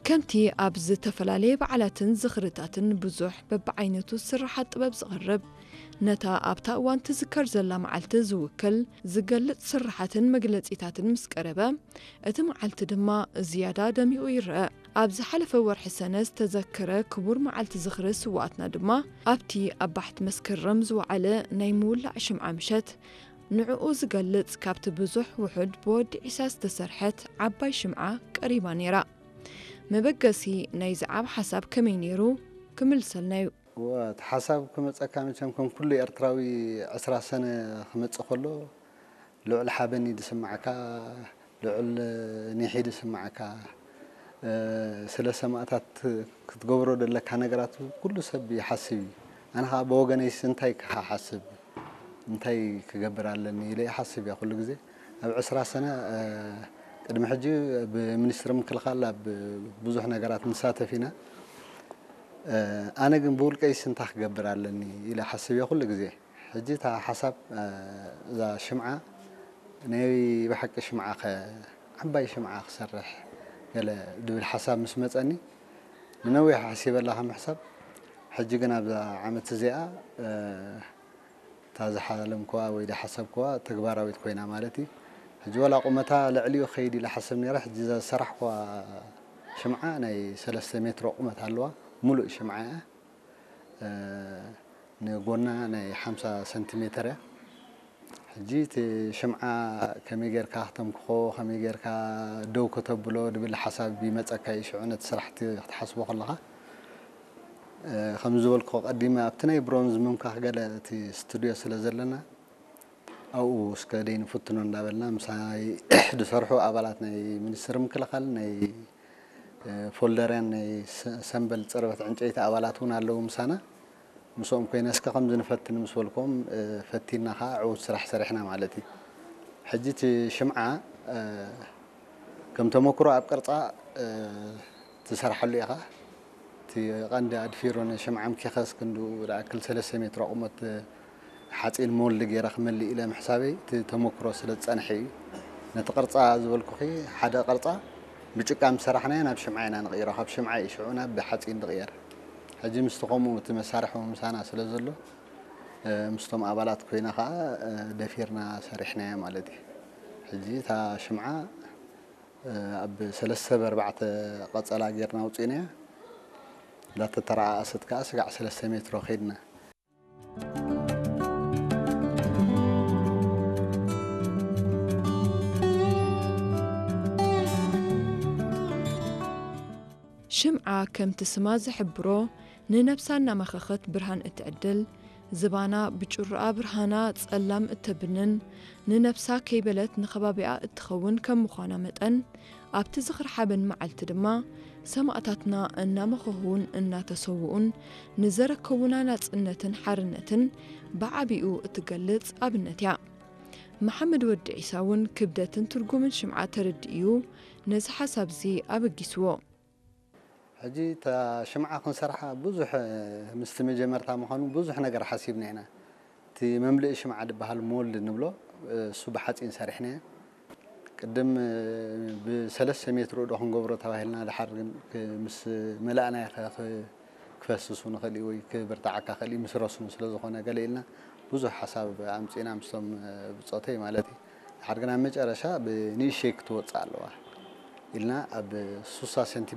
ከምቲ ኣብ ዝተፈላለየ በዓላትን ዝኽርታትን ብዙሕ በብዓይነቱ ስርሓት ጥበብ ዝቐርብ፣ ነታ ኣብታ እዋን ትዝከር ዘላ መዓልቲ ዝውክል ዝገልጽ ስርሓትን መግለጺታትን ምስ ቀረበ፣ እቲ መዓልቲ ድማ ዝያዳ ደሚቑ ይረአ። ኣብ ዝሓለፈ ወርሒ ሰነ ዝተዘከረ ክቡር መዓልቲ ዝኽሪ ስውኣትና ድማ ኣብቲ ኣብ ባሕቲ መስከረም ዝወዓለ ናይ ምውላዕ ሽምዓ ምሸት፣ ንዕኡ ዝገልጽ ካብቲ ብዙሕ ውሑድ ብወዲ ዒሳ ዝተሰርሐት ዓባይ ሽምዓ ቀሪባ ነይራ። መበገሲ ናይዚ ዓቢ ሓሳብ ከመይ ነይሩ? ክምልሰልና እዩ። እወ፣ እቲ ሓሳብ ክመጸካ መቸም ከም ኩሉ ኤርትራዊ ዕስራ ሰነ ክመጽእ ከሎ ልዑል ሓበን እዩ ዝስምዓካ፣ ልዑል ኒሕ እዩ ዝስምዓካ። እ፣ ስለ ሰማእታት ክትገብሮ ዘለካ ነገራት ኩሉ ሰብ ይሓስብ እዩ። ኣነ ኸኣ ብወገነይስ እንታይ ክሓስብ፣ እንታይ ክገብር ኣለኒ ኢለ ይሓስብ እየ ኩሉ ግዜ። ኣብ ዕስራ ሰነ፣ እ፣ ቅድሚ ሕጂ ብሚኒስትሪ ምክልኻል ኣብ ብዙሕ ነገራት ንሳተፍ ኢና። እ፣ ኣነ ግን ብውልቀይስ እንታይ ክገብር ኣለኒ ኢለ ሓስብ እየ ኩሉ ግዜ። ሕጂ እታ ሓሳብ፣ እ፣ እዛ ሽምዓ ናይ ብሓቂ ሽምዓ ኸ-፣ ዓባይ ሽምዓ ክሰርሕ ገለ ዝብል ሓሳብ ምስ መጸኒ፣ ንነዊሕ ሓሲበላ ከም ሕሳብ፣ ሕጂ ግን ኣብዛ ዓመት እዚኣ፣ እ፣ እታ ዝሓለምክዋ ወይ ዝሓሰብክዋ ተግባራዊት ኮይና ማለት እዩ። ሕጂ ዋላ ቁመታ ልዕሊኡ ክኸይድ ኢለ ሓስብ ነይረ። ሕጂ እዛ ዝሰራሕክዋ ሽምዓ ናይ ሰለስተ ሜትሮ ቁመት ኣለዋ። ሙሉእ ሽምዓ እያ። እ፣ ንጎና ናይ ሓምሳ ሰንቲሜተር እያ። ሕጂ እቲ ሽምዓ ከመይ ጌርካ ክተምክኾ፣ ከመይ ጌርካ ደው ከተብሎ ዝብል ሓሳብ ይመጸካ እዩ፣ ሽዑ ነቲ ስራሕቲ ክትሓስቦ ከለኻ። እ፣ ከም ዝበልኩ ቀዲመ ኣብቲ ናይ ብሮንዝ ምምካኽ ገለ እቲ ስቱድዮ ስለ ዘለና፣ ኣብኡ እስከ ደይ ንፍትኖ እንዳበልና ምሳይ ዝሰርሑ ኣባላት ናይ ሚኒስትሪ ምክልኻል፣ ናይ፣ እ፣ ፎልደርያን ናይ ሰ-፣ ሰምበል ጽርበት ዕንጨይቲ ኣባላት እውን ኣለዉ ምሳና። ምስኦም ኮይነ እስከ ከምዚ ንፈትን ምስ በልኩም፣ እ፣ ፈቲና ኸዓ ዕዉት ስራሕ ሰሪሕና ማለት እዩ። ሕጂ እቲ ሽምዓ፣ እ፣ ከም ተመክሮ ኣብ ቅርጻ፣ እ፣ ትሰርሓሉ ኢኻ። እቲ ቀንዲ ኣድፊሮ ንሽምዓ ኣምኪኸስ ክንድኡ ዝኣክል ሰለስተ ሜትሮ ቁመት ሓጺን ሞልድ ገይረ ክመልእ ኢለ ምሕሳበይ እቲ ተመክሮ ስለ ዝጸንሐ እዩ። ነቲ ቅርጻ ዝበልኩኺ ሓደ ቅርጻ ብጭቃ ምስ ሰራሕናዮ ናብ ሽምዓ ኢና ንቕይሮ። ካብ ሽምዓ እዩ ሽዑ ናብ ሓጺን ዝቕየር። ሕጂ ምስቲ ከምኡ እቲ መሳርሒ ምሳና ስለ ዘሎ፣ እ፣ ምስቶም ኣባላት ኮይና ኸዓ፣ እ፣ ደፊርና ሰሪሕናዮ ማለት እዩ። ሕጂ እታ ሽምዓ፣ እ፣ ኣብ ሰለስተ ብኣርባዕተ ቀጸላ ጌርና ኣውጺእናያ። እንዳተተረኣኣሰት ከኣ ስጋዕ ሰለስተ ሜትሮ ከይድና። ሽምዓ ከምቲ ስማ ዝሕብሮ፣ ንነብሳ እናመኸኸት ብርሃን እትዕድል፣ ዝባና ብጭሩኣ ብርሃና ጸላም እተብንን፣ ንነብሳ ከይበለት ንኸባቢኣ እትኸውን ከም ምዃና መጠን፣ ኣብቲ ዝኽሪ ሓበን መዓልቲ ድማ፣ ሰማእታትና እናመኸኹን እናተሰውኡን ንዘረከቡና ናጽነትን ሓርነትን ብዓቢኡ እትገልጽ ኣብነት እያ። መሓመድ ወዲ ዒሳ እውን ክብደትን ትርጉምን ሽምዓ ተረዲኡ ነዚ ሓሳብዚ ኣበጊስዎ። ሕጂ እታ ሽምዓ ክንሰርሓ ብዙሕ፣ ምስቲ መጀመርታ ምዃኑ ብዙሕ ነገር ሓሲብና ኢና። እቲ መምልኢ ሽምዓ ዝበሃል ሞልድ ንብሎ፣ እሱ ብሓጺን ሰሪሕናዮ። ቅድም ብሰለስተ ሜትሮ ዶ ክንገብሮ ተባሂልና፣ ድሓር ግን ክ-፣ ምስ መላእናዮ ከ-፣ ክ-፣ ክፈስሱ ንኽእል እዩ ወይ ክብርትዓካ ክእል እዩ ምስ ረስኑ ስለ ዝኾነ ገለ ኢልና ብዙሕ ሓሳብ ኣምጺእና ምስቶም ብጾተይ ማለት እዩ። ድሓር ግን ኣብ መጨረሻ ብንእሽተይ ክትወጽእ ኣለዋ ኢልና ኣብ ሱሳ ሰንቲ